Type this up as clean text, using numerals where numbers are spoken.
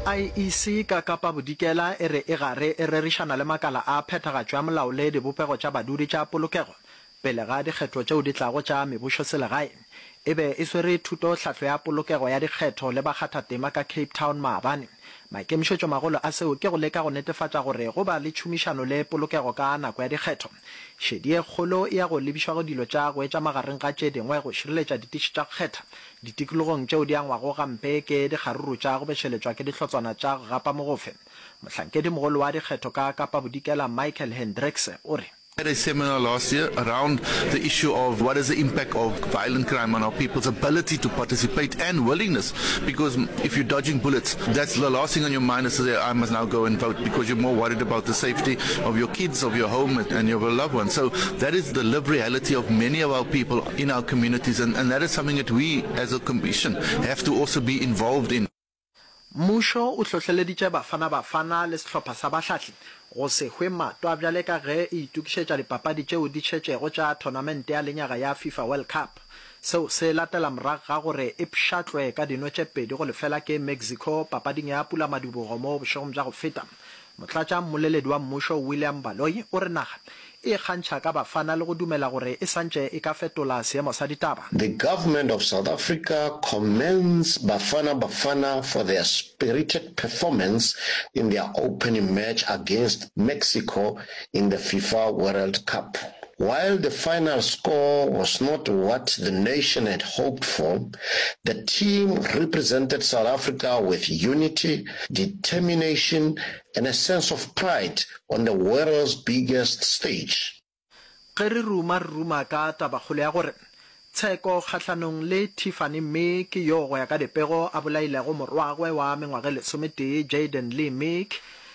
IEC ka Kapa Bodikela e re e gare e rerišana le makala a phethagatšo ya molao le dibopego tša badudi tša polokego pele ga dikgetho tšeo di tlago tša mebušoselegae. E be e swere thutohlahlo ya polokego ya dikgetho le bakgathatema ka Cape Town maabane. Maikemišetšomagolo a seo ke go leka go netefatša gore go ba le tšhomišano le polokego ka nako ya dikgetho. Šedi ye kgolo e ya go lebišwa go dilo tša go etša magareng ga tše dingwe go šireletša ditiši tša go kgetha ditikologong tšeo di angwago gampe ke dikgaruru tša go bešeletšwa ke dihlotswana tša go gapa mogofe. Mohlankedimogolo wa dikgetho ka Kapa Bodikela Michael Hendrickse o re. Had a seminar last year around the issue of what is the impact of violent crime on our people's ability to participate and willingness, because if you're dodging bullets, that's the last thing on your mind is to say, I must now go and vote, because you're more worried about the safety of your kids, of your home, and your loved ones. So that is the lived reality of many of our people in our communities, and, and that is something that we as a commission have to also be involved in. Mmušo o hlohleleditše Bafana Bafana le sehlopha sa bahlahli go se hwe matwa bjale ka ge e itokišetša dipapadi tšeo di šetšego tša thonamente ya lenyaga ya FIFA World Cup. Seo se latela morago ga gore e pšhatlwe ka dino tše 2-0 ke Mexico papading ya pulamadibogo mo bošegong bja go feta. Motlatša mmoleledi wa mmušo William Baloyi o re naga e ikgantšha ka Bafana le go dumela gore e santše e ka fetola seemo sa ditaba. The government of South Africa commends Bafana Bafana for their spirited performance in their opening match against Mexico in the FIFA World Cup. While the final score was not what the nation had hoped for, the team represented South Africa with unity, determination and a sense of pride on the world's biggest stage. Ge re ruma re ruma ka tabakgolo ya gore tsheko kgahlanong le Tiffany Meek yo go ya ka dipego a bolailego morwagwe wa mengwaga e lesometee Jayden Lee Meek.